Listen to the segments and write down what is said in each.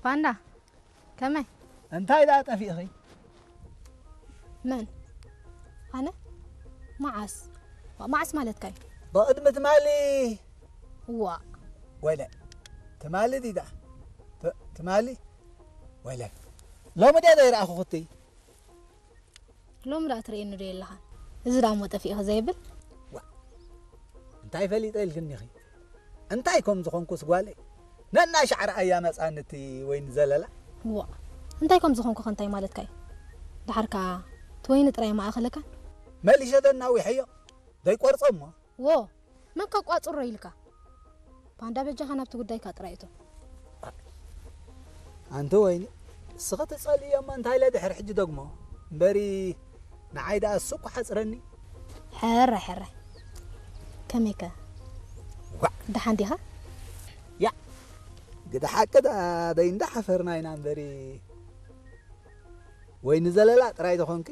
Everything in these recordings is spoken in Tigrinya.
ፓንዳ፣ ከመይ? እንታይ ደኣ ጠፊእኺ? መን? ኣነ? መዓስ? ዋ፣ መዓስ ማለትካ እዩ? ብቕድሚ ትማሊ። ዋ፣ ወለ ትማሊ ዲዳ? ት- ትማሊ? ወለ ሎሚ ድያ ዘይረኣኹኽቲ? ሎሚ ደኣ ትርእየኒ ዶ የለኻን? እዚ ደኣ እሞ ጠፊእኺ ዘይብል? እንታይ ፈሊጠ ኢልክኒኺ? እንታይ ከም ዝኾንኩስ ጓለይ? ነናይ ሻዕሪ ኣያ መጻንቲ ወይኒ ዘለላ። ዋ፣ እንታይ ከም ዝኾንኩ ከ እንታይ ማለትካ እዩ? ደሓር ከኣ እቲ ወይኒ ጥራይ ማእኸለካ? መሊሸ ተናዊሐዮ። ዘይቆርጾ እሞ። ዎ፣ መን ከቋጽሮ ኢልካ? ፓንዳ በጃኻ ናብቲ ጉዳይካ ጥራይ እቶ። ኣንቲ ወይኒ፣ እስኺ ትጸልእዮ እሞ እንታይ ኢለ ድሕሪ ሕጂ ደግሞ? እምበሪ ንዓይ ደኣ እሱ እኮ ሓጽረኒ። ሕረ፣ ሕረ። ከመይከ? ዋዕ። ደሓን ዲኻ? ያ፣ ግደ ሓቂ ደኣ ደይ እንዳሓፈርና ኢና እምበሪ። ወይኒ ዘለላ ጥራይ ተኾንኪ?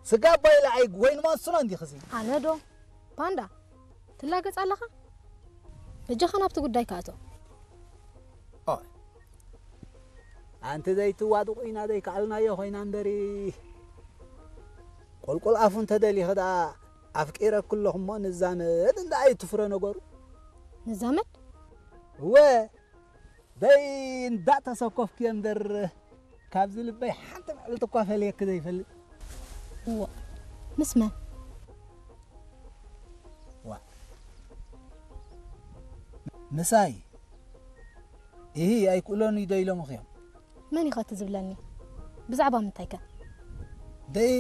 ስጋ ኣባይ ኢለ ኣይ ወይኒ ማንሱና እንዲኺ ሲ? ኣነ ዶ? ፓንዳ፣ ትላገጽ ኣለኻ? በጃኻ ናብቲ ጉዳይካ እቶ። ኦይ። ኣንቲ ዘይትዋድቑ ኢና ዘይከኣልናዮ ኮይና እምበሪ፣ ቁልቁል ኣፉ እንተደሊኺ ደኣ ኣፍቂረኪ ኣለኹ እሞ ንዛመድ እንዳ ኣይትፍረ ነገሩ። ንዛመድ? እወ፣ ደይ እንዳተሰኮፍኪ እምበር ካብዚ ልበይ ሓንቲ መዓልቲ እኳ ፈልየኪ ዘይፈልጥ። እዋ፣ ምስ መን? ዋ። ምሳይ። ኢሂ፣ ኣይክእሎን እዩ ዶ ኢሎምኺ እዮም? መን ኢኻ እቲ ዝብለኒ? ብዛዕባ ምንታይ ከ? ደይ፣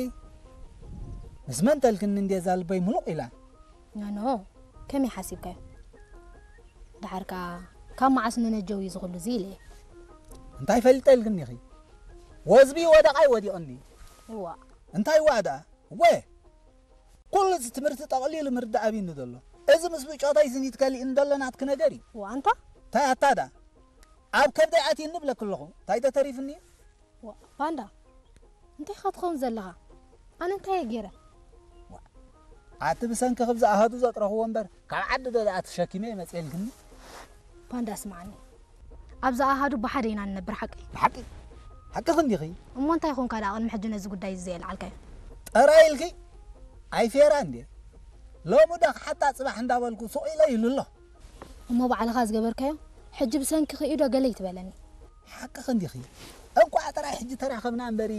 ምስ መን ተልክኒ እንዴ እዛ ልበይ ሙሉቕ ኢላ? ኖ፣ ኖ፣ ከመይ ሓሲብካዮ? ደሓር ከኣ ካብ መዓስ ንነጀው እዩ ዝኹሉ እዚ ኢለ እየ። እንታይ ፈሊጠ ኢልክኒ ኢኺ? ወዝቢ ወደቓይ ወዲቕኒ። እዋ። እንታይ እዋ ደኣ? ወ! ኩሉ እዚ ትምህርቲ ጠቕሊሉ ምርዳእ ኣብዩኒ ዘሎ። እዚ ምስ ብጮታይ ዝኒት ከሊእኒ ዘሎ ናትኪ ነገር እዩ። እዋ፣ ኣንታ? እንታይ ኣታ ደኣ? ኣብ ከብደይ ኣትዩኒ እብለኪ ኣለኹ። እንታይ ተተሪፍኒ እዩ? ዋ፣ ፓንዳ፣ እንታይ ኢኻ ትኸውን ዘለኻ? ኣነ እንታይ እየ ገይረ? ኣቲ ብሰንኪ ክብዚ ኣሃዱ ዘጥረኽዎ እምበር ካብ ዓዲ ዶ ደኣ ተሸኪመ እየ መፅኤልክኒ? ፓንዳ፣ ስምዓኒ። ኣብዛ ኣሃዱ ብሓደ ኢና ንነብር፣ ሓቂ? ብሓቂ? ሓቅኺ እንዲኺ? እሞ እንታይ ኾንካ ደኣ ቅድሚ ሕጂ ነዚ ጉዳይ እዚ ዘየልዓልካዮ? ጠራይ ኢልኪ? ኣይፌራ እንዴ? ሎሚ ዶ ክሓታ ጽባሕ እንዳበልኩ ሱቕ ኢለ ኢሉ ኣሎ። እሞ ባዕልኻ ዝገበርካዮ ሕጂ ብሰንኪ ክኢዶ ገለ ይትበለኒ። ሓቅኺ እንዲኺ? እንቋዕ ጥራይ ሕጂ ተራኸብና እምበሪ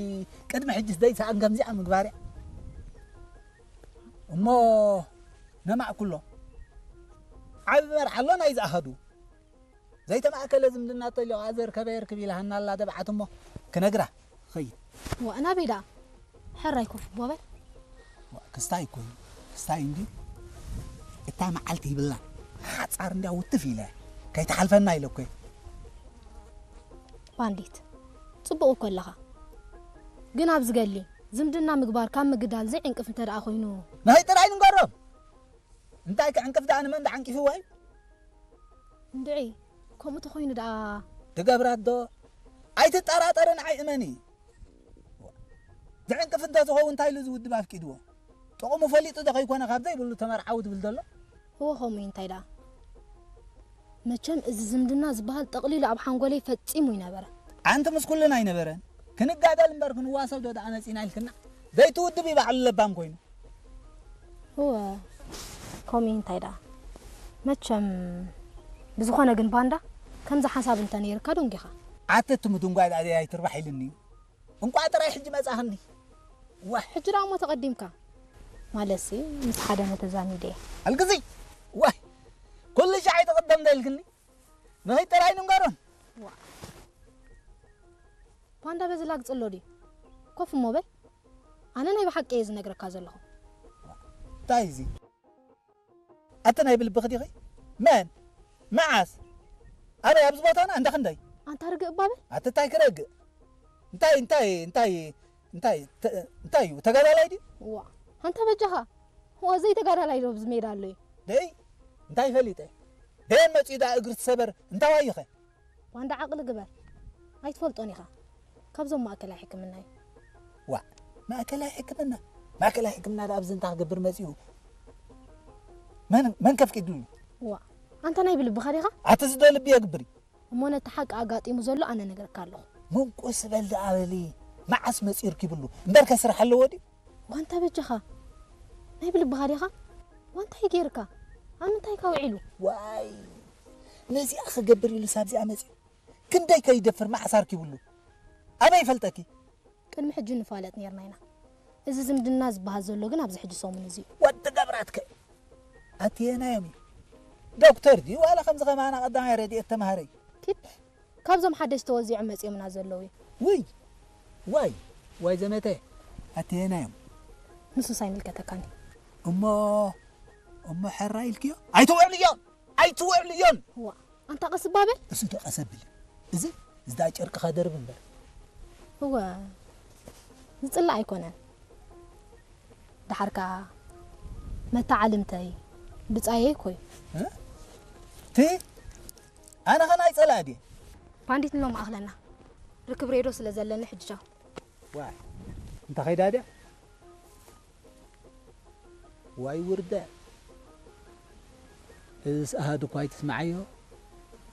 ቅድሚ ሕጂስ ደይሰኣን ከምዚኣ ምግባርያ። እሞ ነማዕ ኩሎ ዓቢ መርዓ ኣሎ ናይዚ ኣሃዱ። ዘይተማእከለ ዝምድና ተልዮ ኣዘርከበ የርክብ ኢልሃና ኣላ ደብዓት እሞ ክነግራ ኸይድ። ዋእ ናበይ ደኣ? ሕራይ ኮፍ እሞ በል። ክስታይ እኮ እዩ ክስታይ እንዲ እታ መዓልቲ ይብላ ሓፃር እንዲያ ውትፍ ኢለ ከይትሓልፈና ኢለ እኮ እየ። ባንዲት ጽቡቕ እኮ ኣለኻ፣ ግን ኣብዚ ገሊ ዝምድና ምግባር ካብ ምግዳል ዘይዕንቅፍ እንተ ደኣ ኮይኑ። ናይ ጥራይ ንገሮም እንታይ ክዕንቅፍ ደኣ ንመን ደዓንቂፍዎ እዩ? እንድዒ ከምኡ ተኾይኑ ደኣ ድገብራት ዶ? ኣይትጠራጠሪ ንዓይ እመኒ። ዝዕንቅፍ እንተዝኸውን እንታይ ኢሉ ዝውድብ ኣፍቂድዎ? ጥቕሙ ፈሊጡ ዶ ከይኮነ ካብ ዘይብሉ ተመርዓዊ ትብል ዘሎ? እወ ከምኡ እዩ እንታይ ደኣ። መቸም እዚ ዝምድና ዝበሃል ጠቕሊሉ ኣብ ሓንጎለይ ፈጺሙ ይነበረ። ኣንቲ ምስ ኩልና ኣይነበረን። ክንጋደል እምበር ክንዋሰብ ዶ ደኣ መጺና ኢልክና? ዘይትውድብ እዩ ባዕሉ ለባም ኮይኑ። እወ ከምኡ እንታይ ደኣ መቸም ብዝኾነ ግን ባንዳ ከምዚ ሓሳብ እንተ ነይርካ ደንጊኻ ኣትት ምድንጓይ ደኣ ኣይትርባሕ ኢልኒ እዩ እንቋዕ ጥራይ ሕጂ መጻኽኒ ዋይ ሕጂ ደኣ እሞ ተቐዲምካ ማለትሲ ምስ ሓደ ተዛሚደ እየ ኣልግዚ ዋይ ኩሉ ሻዕ ኣይትቕደም ዶ ኢልክኒ ንኸይድ ጥራይ ንንገሮን ባንዳ በዚ ላግጽ ኣሎ ድዩ ኮፍ እሞ በል ኣነ ናይ ብሓቂ እየ ዝነግረካ ዘለኹ። እንታይ እዚ? ኣቲ ናይ ብልብኺ ዲኺ? መን? መዓስ? ኣበይ? ኣብዚ ቦታና? እንዳ ክንደይ? ኣንታ ርግእ እባ በል። ኣቲ እንታይ ክረግእ? እንታይ እንታይ እንታይ እንታይ እንታይ እዩ? ተጋዳላይ ድዩ? እዋ ኣንታ በጃኻ። እዋ ዘይተጋዳላይ ዶ ኣብዚ ሜዳ ኣሎ እዩ? ደይ እንታይ ፈሊጠ? ደየን መጺኡ ደኣ እግሪ ትሰበር እንታይ ዋይኸ? ዋንዳ ዓቕሊ ግበር ኣይትፈልጦን ኢኻ ካብዞም ማእከላይ ሕክምና እዩ ዋእ ማእከላይ ሕክምና ማእከላይ ሕክምና ደኣ ኣብዚ እንታይ ክገብር መጺኡ መን መን ከፍቂድሉ ዋእ ኣንታ ናይ ብልብኻ ዲኻ ኣቲ ዝደልብ የግብር እዩ እሞ ነቲ ሓቂ ኣጋጢሙ ዘሎ ኣነ ነግረካ ኣለኹ። መንቆስ በል ደኣ በሊ። መዓስ መጺኡ ርኪብሉ እምበርከ ስራሕ ኣለዎ ድዩ? ዋንታ በጃኻ ናይ ብልብኻ ዲኻ? ዋንታይ ጌርካ? ኣብ ምንታይ ካ ውዒሉ? ዋይ፣ ነዚኣ ክገብር ኢሉ ሳብዚኣ መጺኡ ክንደይ ከይደፍር መዓስ ኣርኪብሉ? ኣበይ ይፈልጠኪ? ቅድሚ ሕጂ ንፋለጥ ኔርና ኢና። እዚ ዝምድና ዝበሃል ዘሎ ግን ኣብዚ ሕጂ ሰሙን እዚ እዩ። ወዲ ገብራትከ ኣትየናዮም እዩ? ዶክተር ድዩ ዋላ ከምዚ ከማና ቀዳማይ ረድኤት ተምሃረይ? ኪድ ካብዞም ሓደሽ ተወዚዖም መጺኦምና ዘለዉ እዩ። ውይ ዋይ ዋይ ዘመተ ኣትየናዮም? ንሱስ ኣይምልከተካን እዩ። እሞ እሞ ሕራ ኢልክዮ? ኣይትውዕልዮን ኣይትውዕልዮን። ዋ ኣንታ ቀስ ባበል። እሱ ዶ ቀሰብል? እዚ እዚ ዳ ጨርቅኻ ደርብ እምበር። እወ ዝጽላእ ኣይኮነን። ደሓር ከኣ መተዓልምተይ ብጻየይ ኮይ ቲ ኣነ ኸን ኣይጸላእ ድየ? ፓንዲት ኖ ማእኽለና ርክብ ሬዶ ስለ ዘለኒ ሕጂ ቻው። ዋይ እንተ ኸይዳ ድያ? ዋይ ውርደት። እዝስ ኣሃዱ እኳ ኣይትስምዓዮ።